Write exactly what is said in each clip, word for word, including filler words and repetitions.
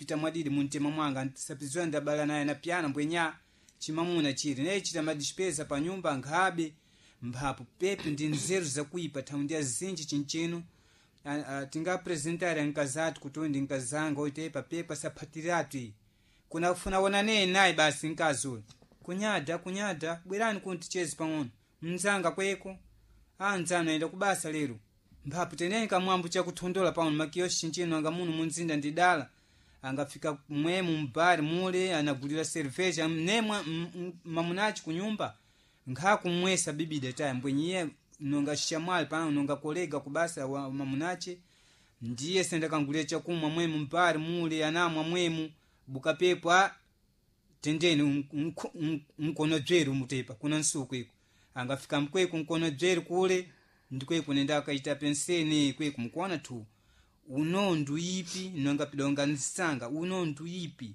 kupita mwadidi muntema mwanga sapizwa ndabala naye na pyana mbwenya chimamuna chiri naye chita madispesa pa nyumba nkhabe mphapo pepe ndi nzeru zakuipa thaundi azinji chinchino tingapresentare nkazatu kuti uyu ndi nkazanga oitepa pepa saphatiratu iyi kunafuna wonaneye naye basi nkazi uyu kunyada kunyada bwerani kuti ticheze pang'ono mnzanga kweko anzanu ayenda kubasa lero mphapo teneni kamwambo chakuthondola pano makiyoshi chinchino anga muno munzinda ndidala angafika mwemu mbari mule anagulira cerveja nemwe mamunachi kunyumba nkhakumwesa bibida taya mbwenyiye nonga shamwali pano nonga kolega kubasa wa mamunache ndiye sendakangulira chakumwa mwemu mbari mule anamwa mwemu bukapepo a tendeni mkono dzweru mutepa kuna nsuku iko angafika mkweku mkono dzweru kule ndikweku nenda akaita penseni kweku mkuona tu uno nduipi nonga pidonga nsanga uno nduipi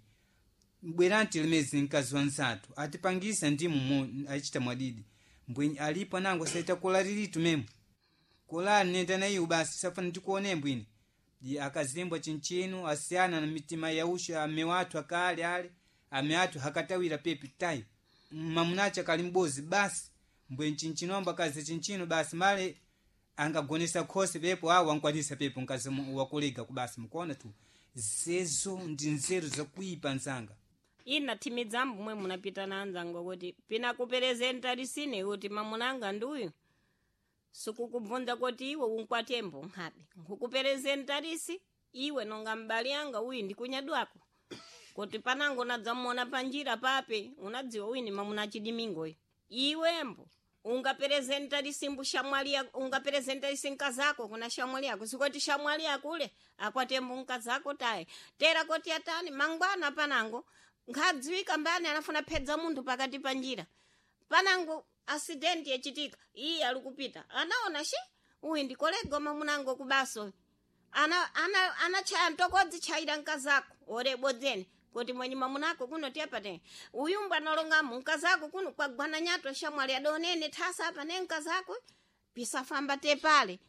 bwerani tilemezi mkazi wa nzathu atipangisa ndimu mo achita mwadidi mbwenyi alipo nango saita kola lilitu memo kolali nenda na iwo basi safana tikuone mbwini di akazimbwa chinchino asiyana na mitima yausha ame wathu akale ale ame athu hakatawira pepi tayi mamunacha kali mbozi basi mbwenyi chinchino amba kazi chinchino basi male angagonesa khosi pepo awo ankwanisa pepo nkazi wakolega kubasi mukuona tu zezo ndi nzeru zakuipa nzanga ina thimidzambo mwe munapita na anzanga kuti pinakuperezentarisine kuti mamunanga nduyu sikukubvunza kuti iwe unkwatembo nkhabe nkukuperezentarisi iwe nonga m'bale anga uyu ndikunyadwako kuti panango unadzamuona panjira pape unadziwa uyu ni mamuna chidimingoyo iwembo ungaperezentarisi mbu shamwali yako ungaperezentarisi nkazako kuna shamwali yako sikoti shamwali yako ule akwatembo nkazako tayi tera koti atani mangwana panango nkhadziwika mbani anafuna phedza munthu pakati pa njira panango asidenti yachitika iye alikupita anaona shi uyu ndikolega mamunango kubaso ana ana anachaya mtokodzi chayira nkazako orebodzeni kuti mwenye mamunako kuno tiyapate uyumbu analongamo nkazako kuno kwagwana nyato shamwali adonene thasa apa ne nkazako pisafamba tepale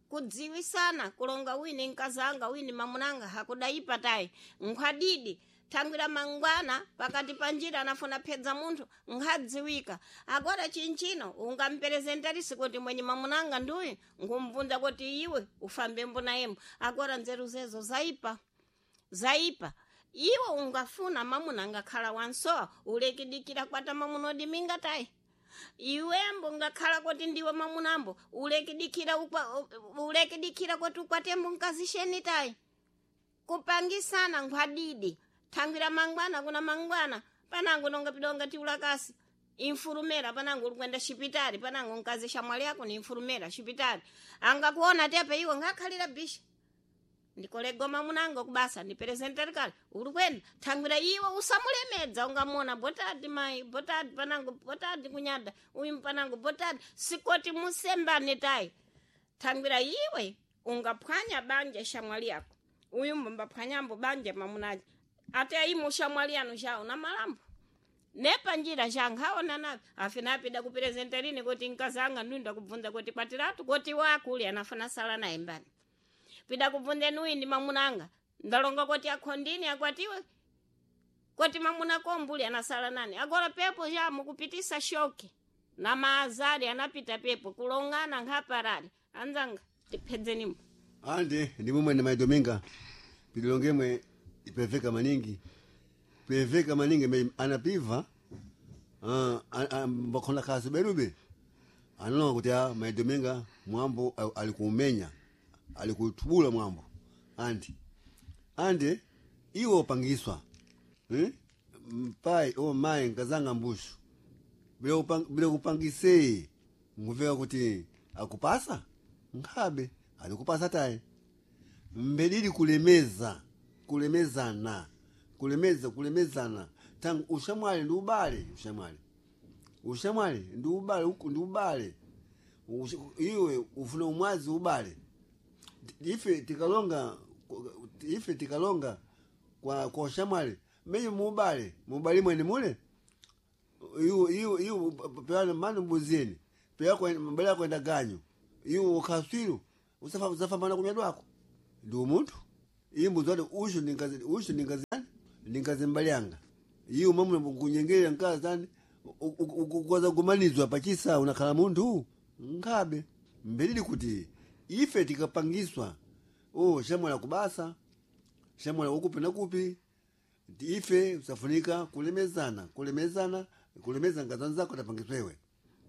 kudziwisana kulonga wini nkazanga wini mamunanga hakudaipa tayi nkhwadidi thangwira mangwana pakati pa njira anafuna phedza munthu nkhadziwika agora chinchino ungamperezentarisi kuti mwenye mamunanga nduyu nkumvunza kuti iwe ufambe mbonayemo agora nzeru zezo zaipa zaipa iwe ungafuna mamuna angakhala wansowa ulekidikira kwata mamuna odiminga tayi iwembo ngakhala kuti ndiwe mamunambo ulekidikira ukwa ulekidikira kuti ukwatembo nkazisheni tayi kupangisana nkhwadidi thangwira mangwana kuna mangwana panango nonga pidonga tiulakasi infurumera panango ulikwenda xipitali panango nkazi xamwali yako ni infurumera xipitali angakuona tepe iwe ngakhalira bisha ndikolega mamunango kubasa ndiperezenterikali kale ulikwenda thangwira iwe usamulemedza ungamona botadi mai botadi panango botadi kunyada uyu panango botadi sikoti musembane tayi thangwira iwe ungaphwanya banja xamwali yako uyu mbambaphwanyambo banja mamunaji ate aimo xamwali yanu xawo na malambo nepanjira xankhaona napi afina apida kuperezenterini kuti nkazanga ndunda kubvunza kuti kwatiratu kuti wakuli anafuna sala naye mbani pida kubvunzeni uyu ndi mamunanga ndalonga kuti akhondini akwatiwe kuti mamuna kombuli anasala nani agora pepo ja mukupitisa shoki na maazari anapita pepo kulongana nkhaparali anzanga tiphedzenimo andi ndi mumwe ndi maidominga pililongemwe ipeveka maningi peveka maningi me anapiva uh, mbakhona khasi berube analonga kuti a maidominga mwambo alikumenya alikutubula mwambo andi andi iwo upangiswa hmm? mpai o mai nkazanga mbushu bila upang, bila kupangisei nguveka kuti akupasa nkhabe alikupasa tayi mbedili kulemeza kulemezana kulemeza kulemezana tangu ushamwali ndi ubale ushamwali ushamwali ndi ubale uku ndi ubale iwe ufuna umwazi ubale ife tikalonga ife tikalonga kwa kwa ushamwali menye muubale muubale mwene mule iwo iwo iwo peana manu mbuzini peya mbele kwenda ganyu iwo ukaswiru usafa usafambana kunyadwako ndi umunthu iyi mbuzi wati ushu ndingazi ushu ndingazi Ndi nkazi mbali yanga iyo mamuna kunyengerera nkazi tani ukwaza kumanizwa pachisa unakhala munthu nkhabe mbelili kuti ife tikapangiswa oh shamwala kubasa shamwala ukupi na kupi Ndi ife safunika kulemezana kulemezana kulemeza nkazi zako tapangiswewe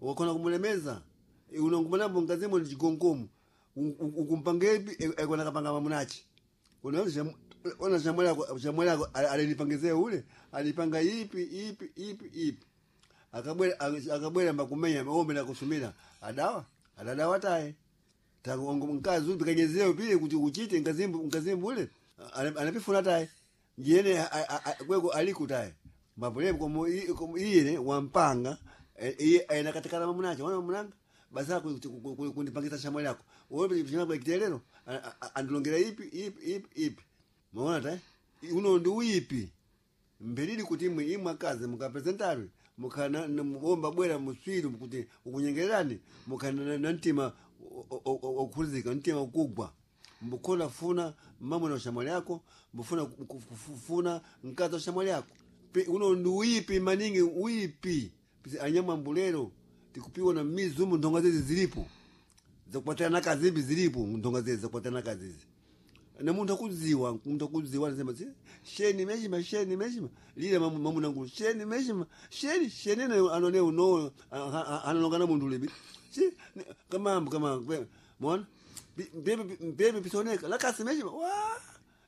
wakona kumulemeza unongumanambo nkazimo ni chigongomo ukumpangepi ekona kapanga mamunachi unaona ona shamwala shamwala alinipangize ule alipanga ipi ipi ipi ipi akabwera akabwera mbakumenya ombe na kusumira adawa adadawa taye tangu nkazi upi kanyezeo pile kuti uchite nkazimbu nkazimbu ule anapifuna taye jene kweko aliku taye mbapole komo iyene wampanga iye ainakatikana mamunache wana mamunanga basa kundipangisa shamwali yako wewe chimwa kitelero andilongera ipi ipi ipi ipi maona ta uno ndi uipi mbelili kuti imwe imwe akazi mukapresentari mukana omba bwera muswiru kuti ukunyengererani mukana na mtima okukhulizika mtima ukugwa mbukhola funa mamuna ushamwali yako mbufuna kufuna mkazi wa shamwali yako uno ndi uipi maningi uipi anyama mbulero tikupiwa na mizumu ndonga zezi zilipo zakupatirana kazimbi zilipo ndonga zezi zakupatirana kazizi na munthu akudziwa munthu akudziwa anasema zi sheni meshima sheni meshima lile mamu mamunangu sheni meshima sheni sheni ne anone uno analongana munthu libi si kama kama mona bebe bebe pisoneka lakasi meshima wa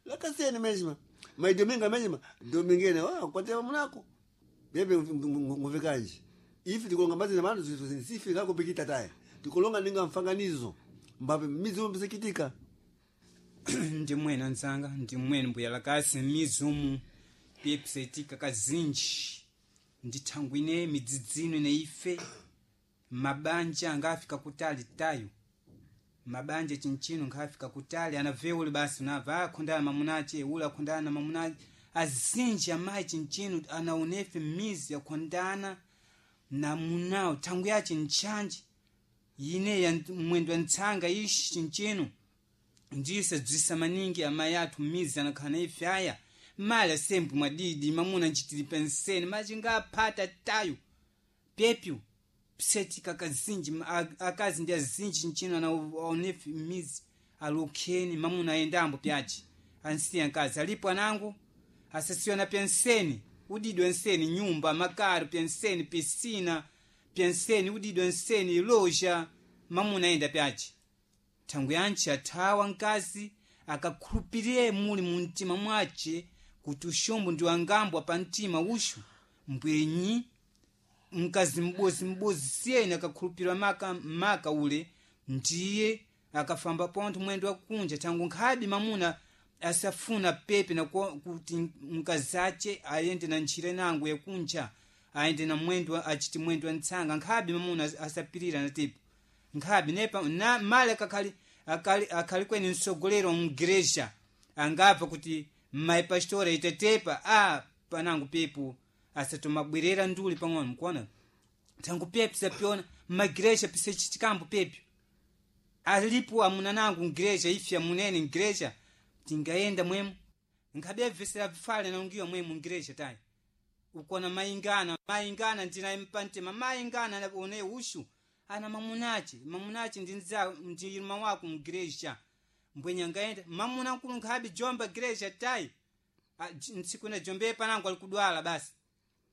lakasi meshima mai dominga meshima domingene wa kwa tema munako bebe nguvekanje ifi tikulonga mazina manu sifika kupikita taye tikulonga ninga mfanganizo mbape mizumu pisikitika ndi mwene anzanga ndi mwene mbuya lakasi mizumu piyepisetika kazinji ndi thangwi ine midzidzino ine ife mabanja angafika kutali tayo mabanja chinchino nkhafika kutali anaveule basi unabva akhondana mamunache ule akhondana na mamunache azinji amayi chinchino anaonefe mizi akhondana na munawo thangwi yache ntchanji ine ya mwendo wa ntsanga ishi chinchino ndise dzwisa maningi amayi athu mizi anakhala na ife aya mali asempu mwadidi mamuna ncitili penseni machingaphata tayo pepyu psetika kazinji akazi ndi azinji nchino anaonefe mizi alukheni mamuna ayendambo pyaci ansiya nkazi alipo anangu asasiwa na penseni udidwe nseni nyumba makaro penseni pisina penseni udidwe nseni loja mamuna ayenda pyaci thangwi yantchi athawa nkazi akakhulupirire muli mu mtima mwace kuti uxombo ndi wangambwa pa mtima uxu mbwenyi mkazi m'bozi m'bozi siyeni akakhulupirira maka, maka ule ndiye akafamba pontho mwendo wakunja thangu nkhabe mamuna asafuna pepe na kuti mkazi ace ayende na ntchire nango yakunja ayende na mwendo achiti mwendo wa ntsanga nkhabe mamuna asapirira na tipo nkhabe nepa na male akakhali akali, akhali kweni msogolero mgereja angabva kuti mayi pastora itetepa a panango pepo asatomabwerera nduli pang'ono mkuona thangu pepo sapiona mmagereja pisechitikambo pepo alipo amuna nangu mgereja ife amunene mgereja tingayenda mwemu nkhabe abvesera vifale naungiwa mwemu mgereja tayi ukona mayingana mayingana ndinaye mpantema mayingana one ushu ana mamunache mamunache ndi nza ndi irma wako mgereja mbwenye angaenda mamuna nkulu nkhabe jomba gereja tayi ntsiku na jombe panango alikudwala basi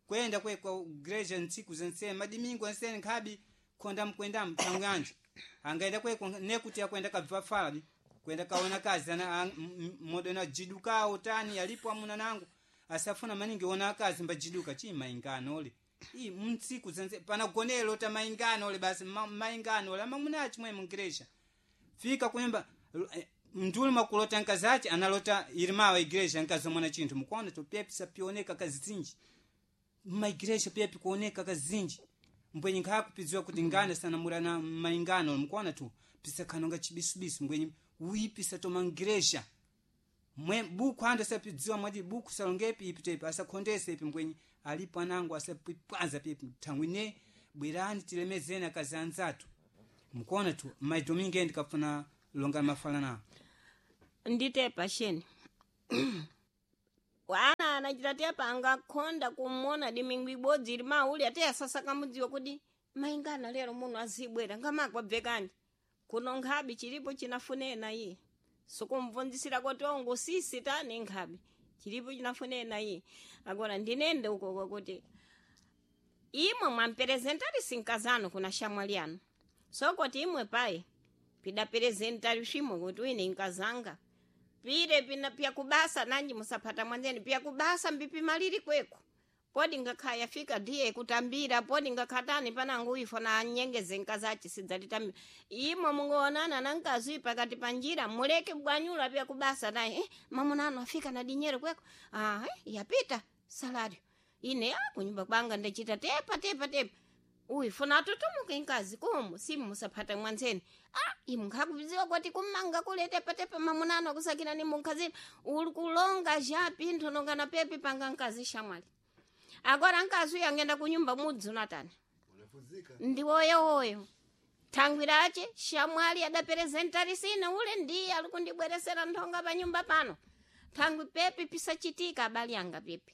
kwenda kwe kwa gereja ntsiku zensene madimingo ensene nkhabe khonda mkwenda mtanganje angaenda kweko nekuti akwenda kabva falabi kwenda kaona kazi ana modo na jidukawo tani alipo amuna nangu asafuna maningi ona akazi mbajiduka chi maingano ole i mtsiku zense panagonelo ta maingano ole basi ma, maingano ole amamunachi mwe mungresha fika kunyumba mnduli makulota nkazi ache analota irimawa igreja nkazi omona chinthu mukuona topepisa pioneka kazinji maigireja pepi kuoneka kazinji mbwenye nkhakupidziwa kuti ngana sanamura na maingano mukuona tu pisakhanonga chibisubisu mbwenye uipisa tomangireja mwe buku andu asapidziwa mwati buku salongepi ipi tepi asakhondese ipi mbwenye alipo anangu asapipwaza pipi thangwi ne bwerani tilemezeni akazi anzathu mukuona tu maidominge ndikafuna longa mafala nawo ndite pasheni wana Anachita tepa angakhonda kumona dimingu ibodzi ili mauli ate asasa kamudziwa kuti maingana lero muno azibwera ngamakwabvekani kuno nkhabi chilipo chinafunena iye sikumvunzisira kuti ongo sisi tani nkhabi chilipo chinafunena iye. Agora ndinende ukoko kuti imwe mwamperezentari sinkazano kuna shamwali anu sokoti imwe payi pidaperezentari swimwe kuti uine nkazanga pire pina pyakubasa nanji musaphata mwanzeni pyakubasa mbipimaliri kweko podi ngakha yafika ndiye kutambira podi ngakhatani panangu ifo na anyengeze nkazachi sidzalitambira imwe mungoonana na nkazi pakati pa njira muleke bwanyula pyakubasa naye eh, mamunano afika na dinyero kweko ah, eh, yapita salario ine ah, kunyumba kwanga ndachita tepa tepa tepa uyu funa atutumuke nkazi kumu simu musaphata mwanzeni ah imu nkhakudziwa kuti kumanga kule tepa tepa mamunano akusakira ni munkhazini uli kulonga ja pinthu nongana pepi panga nkazi shamwali. Agora nkazi uyu angenda kunyumba mudzi unatani Unafuzika. ndi woyowoyo thangwirache shamwali adaperezentarisina ule ndiye ali kundibweresera nthonga pa nyumba pano thangwi pepi pisachitika abali anga pepi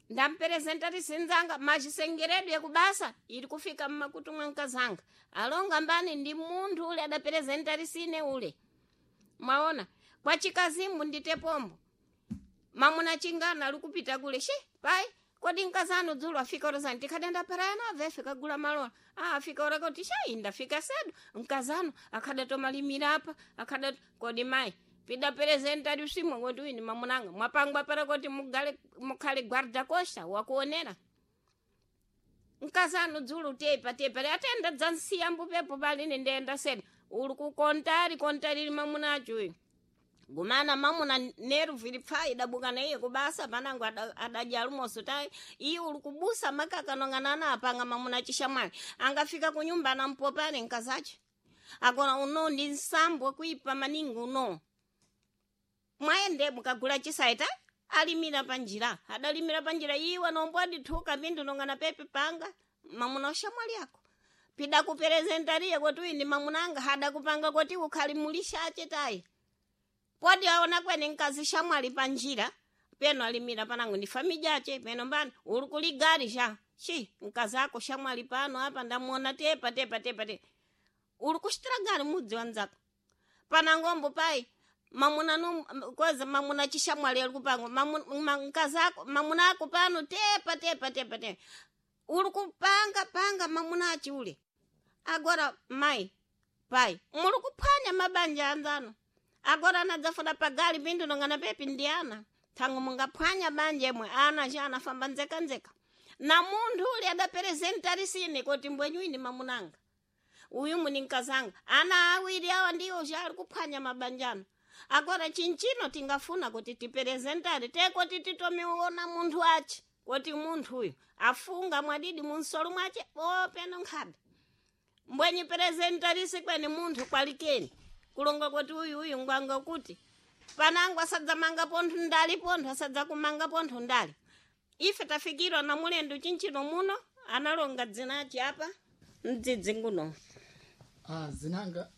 ndamperezentarisinzanga machisengeredwe kubasa ili kufika mmakutu mwa nkazanga alonga mbani ndi munthu ule adaperezentarisine ule mwaona kwa chikazimu ndite pombo mamuna chingana ali kupita kule she pai kodi nkazanu dzulo afika orozani tikhadenda parayana avefe kagula malola ah afika orako tishayi ndafika sedu nkazanu akhadatomalimira apa akhada kodi mai pida perezentari usimwe kuti uyu ni mamunanga mwapangwa para kuti mugale mukhale guarda costa wakuonera nkazanu dzulo tepa tepa atenda dzansiya mbupepo palini ndenda sedu uli kukontari kontari mamunacho uyu gumana mamuna neru ili pfai idabuka na iye kubasa panango adadya alumoso tayi iye uli kubusa makaka nonganana apanga mamuna chishamwali angafika kunyumba anampopane nkazache agora uno ndi nsambo kuipa maningi uno mwaende mukagula chisaita alimira panjira adalimira panjira iwe nombo adithuka pindu nongana pepe panga mamuna ushamwali ako pida kuperezentariye kuti uyu ndi mamunanga hadakupanga kuti ukhali mulishache tayi podi aona kwene nkazi shamwali panjira peno alimira panango ndi famijache peno mbani uli kuligari sha chi nkazi ako shamwali pano apa ndamuona tepa tepa tepa tepa uli kuxitira gari mudzi wanzako panangombo pai mamuna nu koza mamuna chishamwali ali kupanga nkazi ako mamuna ako pano tepa tepa tepa tepa uli kupanga panga mamuna achi ule agora mai pai muli kuphwanya mabanja anzano agora anadzafuna pagali pindu nongana pepi ndi ana thango mungaphwanya banja imwe ana cha anafamba nzekanzeka na munthu uli adaperezentarisine kuti mbwenyuini mamunanga uyu muni nkazanga ana awiri awa ndiwo cha ali kuphwanya mabanjano agora chinchino tingafuna kuti tiperezentari tekoti titomiona munthu achi kuti munthu uyu afunga mwadidi munsolo mwache openo nkhabe mbwenyi perezentarisi kweni munthu kwalikeni kulonga kuti uyu uyu ngwanga kuti panango asadzamanga pontho ndali pontho asadzakumanga pontho ndali ife tafikirwa na mulendo chinchino muno analonga dzinachi apa mdzidzi nguno Ah, zinanga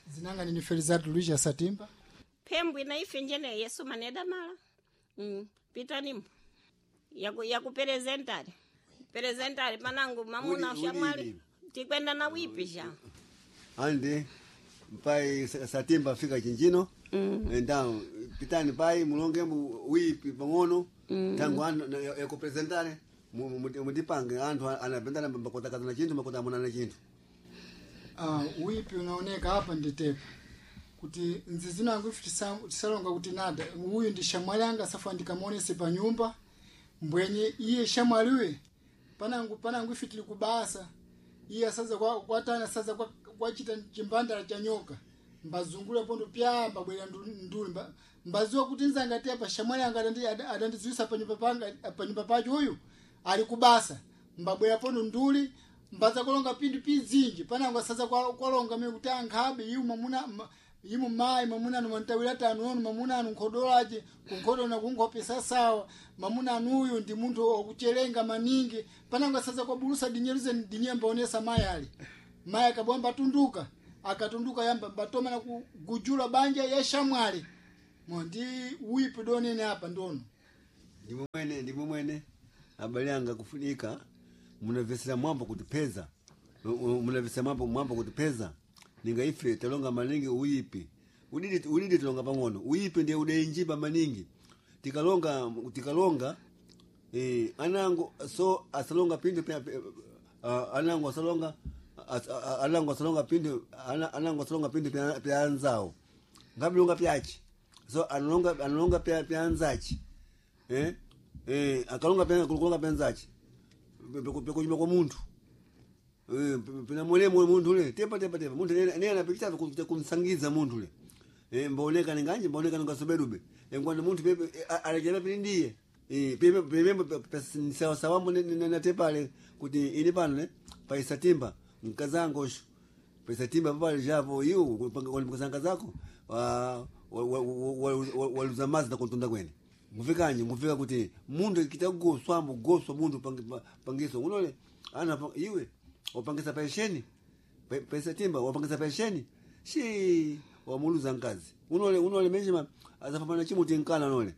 zinanga nini Felizardo Luis Satimba. phembwi na ife njene yesu maneda mala mm. pitanimo yaku yakuperezentari perezentari panango mamuna Uli- ushamwali uli- tikwenda na wipi sha andi pai Satimba afika chinjino mm. Então pitani pai mulonge mu wipi pang'ono mm. Tangu anu yakupresentare mutipange anthu anapendana makotakazana chinthu makotamunana chinthu. Ah, wipi unaoneka hapa nditepa kuti nzizinango ife tisa- tisalonga kuti nada uyu ndi shamwali anga safu andikamuonese pa nyumba mbwenye iye shamwaliwe panangu panangu ife tili kubasa iye asaza kwa kwatana asaza kwa kwachita chimbandala cha nyoka mbazungula pondo pya mbabwera ndu- nduli mba, mbaziwa kuti nzanga tepa shamwali anga adandi- ada- adandidziwisa pa nyumba panga pa nyumba pacho uyu ali kubasa mbabwera pondo nduli mbaza kulonga pindu pizinji panango asaza kwa- kwalonga mene kuti ankhabe iwu mamuna ma- imu mayi mamuna anu mwantawira tanu onu mamuna anu nkhodolache kunkhodona kunkhopesa sawa mamuna anu uyu ndi munthu wakuchelenga maningi panango asaza kwabulusa dinyeruze dinye mbaonesa mayi ali mayi akabwamba atunduka akatunduka yamba batoma na kugujula banja ya shamwali mo ndi wipi donene apa ndono. Ndimwe mwene, ndimwe mwene abale anga kufunika munavesera mwambo kutipeza, munavesera mwambo mwambo kutipeza ninga ife talonga maningi uyipi udidi udidi tulonga pang'ono uyipi ndiye udenjipa maningi tikalonga tikalonga eh, anango so asalonga pindu pe, pe, uh, anango asalonga as, a- anango asalonga pindu ana- anango asalonga pindu pya pya anzawo ngabilonga pyachi so analonga analonga pya pya anzachi eh eh akalonga pya kulonga pya anzachi pekunyuma kwa munthu Eh, pina mulemo munthu ule tepa tepa tepa munthu ene ene anapikisa kuja kumsangiza munthu ule eh mbaoneka nganje mbaoneka ngasobedube engwani munthu pepe alekela pili ndiye eh pepe pepe sawa sawa mbone na tepale kuti ini pano ne paisatimba mkazango sho paisatimba pale japo iyo kupanga mkazanga zako wa waluza mazi na kuntunda kwene ngufikanye ngufika kuti munthu kitagoswambo goswa munthu pangi- pangiso unole ana pa- iwe wapangisa pensheni Pe- pesa timba wapangisa pensheni shi wamuluza nkazi unole unole menjima azafamana chimuti nkana nole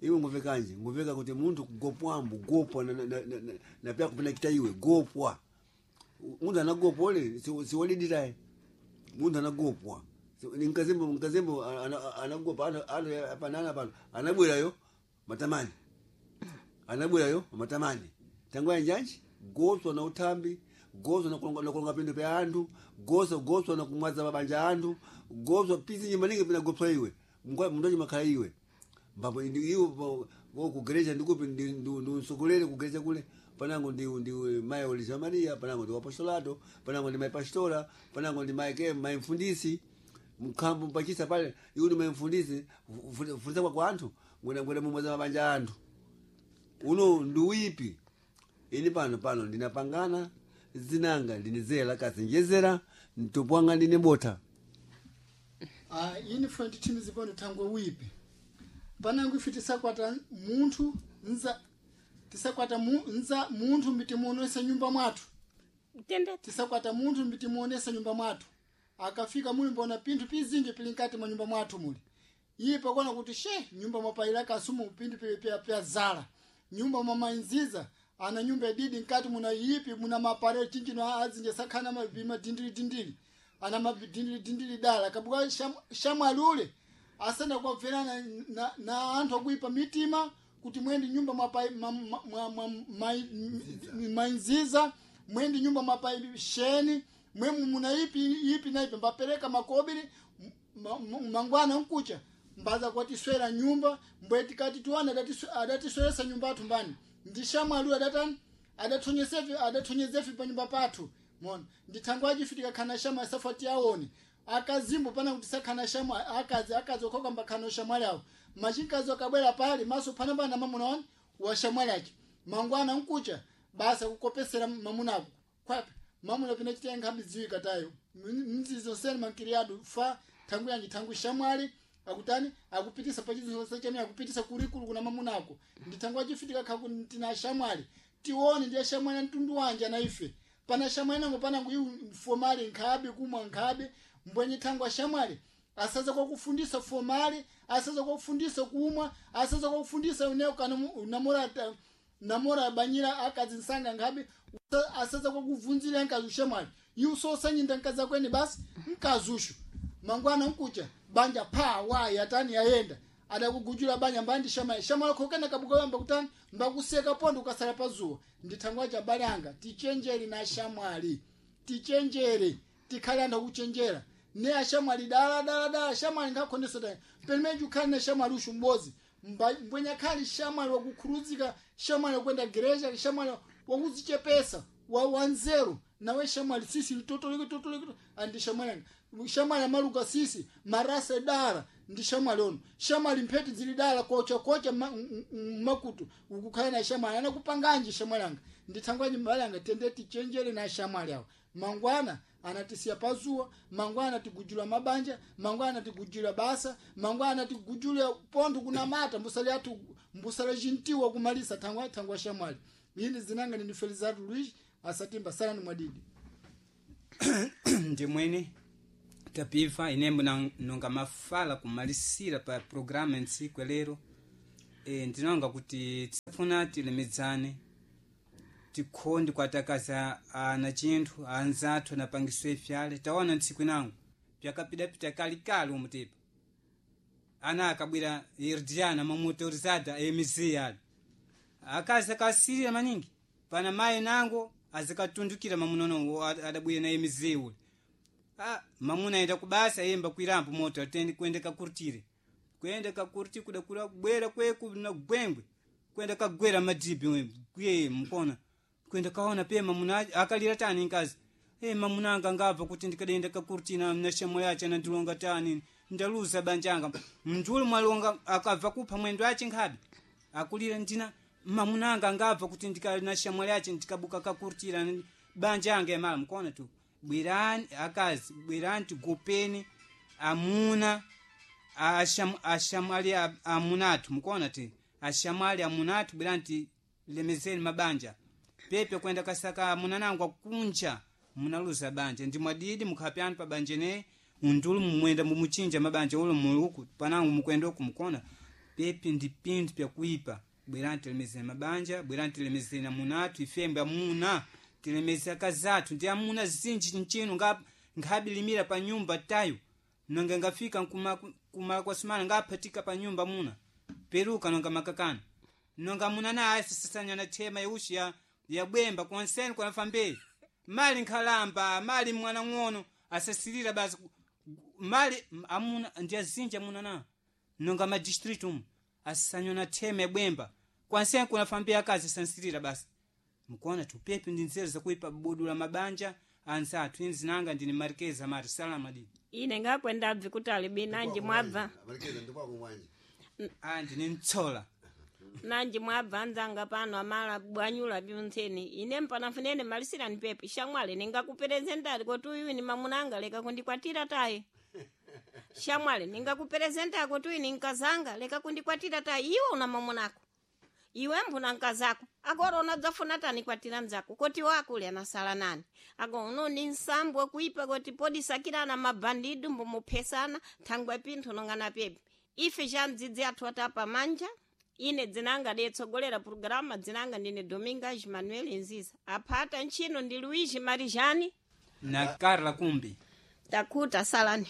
iwe ngufikanje ngufika kuti munthu kugopwambo gopwa na, na, na, na, na pya kupina kita iwe gopwa munthu anagopwa ole siwalidiraye munthu anagopwa nkazembo nkazembo anagopa panana pano anabwerayo matamani anabwerayo matamani tangu anjanji goswa na uthambi goswa na kulonga- na kulonga pindu pya anthu goswa goswa na kumwaza mabanja anthu goswa pisi nyimaningi pina gopswa iwe Mngwa- mndu achimakhala iwe mbapo ndi iwo po- po kugereja ndikupi ndiusokolere kugereja kule panango ndi ndi mayi olija maria panango ndi wapostolato panango ndi mayi pastora panango ndi mayi ke mayi mfundisi mkhambo mpachisa pale iwo ndi mayi mfundisi fundisa kwa kwa anthu ngwena ngwena mumwaza mabanja anthu uno ndi uyipi ini pano pano ndinapangana zinanga ndinizela kazinjezera mtupu wanga ndine bota Ah, ini funa tithimizi pano thangwe wipi panango ife tisakwata munthu nza tisakwata mu, nza munthu mbitimuonesa nyumba mwathu tende tisakwata munthu mbitimuonesa nyumba mwathu akafika muli mbona pinthu pizinji pili nkati mwa nyumba mwathu muli iye pakona kuti she nyumba mwapayila kasumu pinthu pili pya pyazala nyumba mwamainziza ana nyumba ididi nkati muna ipi muna mapare chinjino azinje sakhana mabima dindili dindili ana mabdindili dindili dala kabuka sham- shamwalule asana kwabverana na, na anthu akuipa mitima kuti mwendi nyumba mwapai- ma- ma- mwa- mwa- mai- mainziza mwendi nyumba mwapai sheni mwemu muna ipi ipi na ipi mbapereka makobiri ma- ma- mangwana nkucha mbaza kwatiswera nyumba mbwe tikati tiwana adatiswe- adatisweresa nyumba athu mbani ndishamwalu adatani adathonyesefe adathonyezefe pa nyumba pathu mona ndithangwaji fitika khana shama safati aone akazimbo pana kuti sakhana shama akazi akazi okhoka mbakhana shamwali awo machinkazi akabwera pali maso phana pana mamuna wani wa shamwali ache mangwana nkucha basa kukopesera mamunako kwapi mamuna pina chita nkhambi ziwika tayo mzizo sene mankiriado fa thangu yanji thangu shamwali akutani akupitisa pachizo chene akupitisa kurikulu kuna mamunako ndithangu achifitika khaku tina shamwali tione ndiye shamwali mtundu wanje na ife pana shamwali nango panango iwu fomali nkhabe kumwa nkhabe mbwenye thangu ashamwali asaza kwakufundisa fomali asaza kwakufundisa kumwa asaza kwakufundisa uneo kana namora namora banyira akazi nsanga nkhabe Usa- asaza kwakuvunzira nkazi ushamwali iwu sosanyinda nkazi akwene basi nkazushu mangwana nkucha banja pha wa yatani yayenda adakugujula banja mbandi shamali shamali khokena kabuka yamba kutani mbakuseka pondo ukasala pazuwa ndithangwa cha balanga tichenjere na shamwali tichenjere tikhale anthu akuchenjera ne ashamwali dala dala dala shamwali ngakhondeso tayi pelimeji ukhale na shamwali ushu m'bodzi Mba- mbwenya khali shamwali wakukhuluzika shamwali wakuenda gereja shamwali wakuzichepesa wa wanzeru nawe shamwali sisi litotoleke totoleke andi shamwali anga shamwali amaluka sisi marasa dara ndi shamwali ono shamwali mpheti zili dala kocha kocha ma- m- m- makutu ukukhala na shamwali anakupanganji shamwali anga ndithangwaji mbali anga tende tichenjere na shamwali awo mangwana anatisiya pazuwa mangwana anatigujula mabanja mangwana anatigujula basa mangwana anatigujula pontho kunamata mbusale athu mbusale cintiwa kumalisa thangwa thangwa shamwali ini zinanga ndini Felizardo Luiz asatimba salani mwadidi Ndi mwene tapiva inembo na- nonga mafala kumalisira pa programa ntsiku lero. E, ndinonga kuti tisafuna tilemedzane, tikhondi kwatakaza ana chinthu anzathu anapangiswe ifyale. Taona ntsiku inango pyakapidapita kalikali umutepa ana akabwera irdiana mamotorizada emizi ali akazi akasirira maningi pana mayi nango azikatundukira mamunono adabwera na emizi ule. Ah, mamuna aenda kubasa yemba kwirambo moto atende kwenda kakurtire, kwenda kakurti kuda kula bwera kweku na gwengwe kwenda kagwera madibi we gwe mkona kwenda kaona pe mamuna akalira tani nkazi e mamuna anga ngabva kuti ndikadenda kakurtina na shemo yache na ndilonga tani ndaluza banjanga mndulu mwalonga akabva kupha mwendo ache nkhabe akulira ndina mamuna anga ngabva kuti ndikali shemo yache ndikabuka kakurtira banjanga yamala mkona tu. Bwerani akazi, bwerani tigopeni amuna asham, ashamali amunatu mukona ti ashamali amunatu, bwerani tilemezeni mabanja pepe kwenda kasaka amunanangu akunja munaluza banja ndi mwadidi mukhapyani pa banja ne undulu mumwenda mumuchinja mabanja ulo muluku panangu mukwenda uku mukona pepe ndi pinthu pyakuipa. Bwerani tilemezeni mabanja, bwerani tilemezeni amunatu ifembe amuna tilemeze akazathu ndi amuna zinji nchinu nkhabilimira pa nyumba tayo nonga ngafika kumala kwa sumana ngaphatika pa nyumba muna peruka nonga makakana nonga muna na asisasanya na thema yaushi ya yabwemba konseni kwanafa mbeli mali nkhalamba mali mwana ng'ono asasirira basi mali amuna ndi azinji amuna na nonga ma district umu asisanya na thema yabwemba kwanseni kunafa mbeli akazi asansirira basi mkuona tupepe ndi nzeru zakuipa budula mabanja anzathu inzinanga ndine marikeza mari salama di Ine ngakwenda abvi kuti alibi nanji mwabva. Marikeza ndikwako mwanje. Ah, ndine mtsola. Nanji mwabva anzanga pano amala bwanyula byontseni ine mpanafunene malisirani pepe shamwali ningakuperezentari kuti uyu ni mamunanga leka kundikwatira tayi, shamwali ningakuperezentari kuti uyu ni nkazanga leka kundikwatira tayi, iwe una mamunako iwe mbuna nkazako agora unadzafuna tani kwatira mzako koti wakule anasala nani ago uno ni nsambo kuipa koti podisakirana mabandidu mbumuphesana thangwe pinthu nongana pepe ife cha mdzidzi athu atapa manja. Ine dzinanga detsogolera programa dzinanga ndine Domingas Manuel Nziza, aphata ntchino ndi Luigi Marijani na Carla Kumbi. Takuta salani.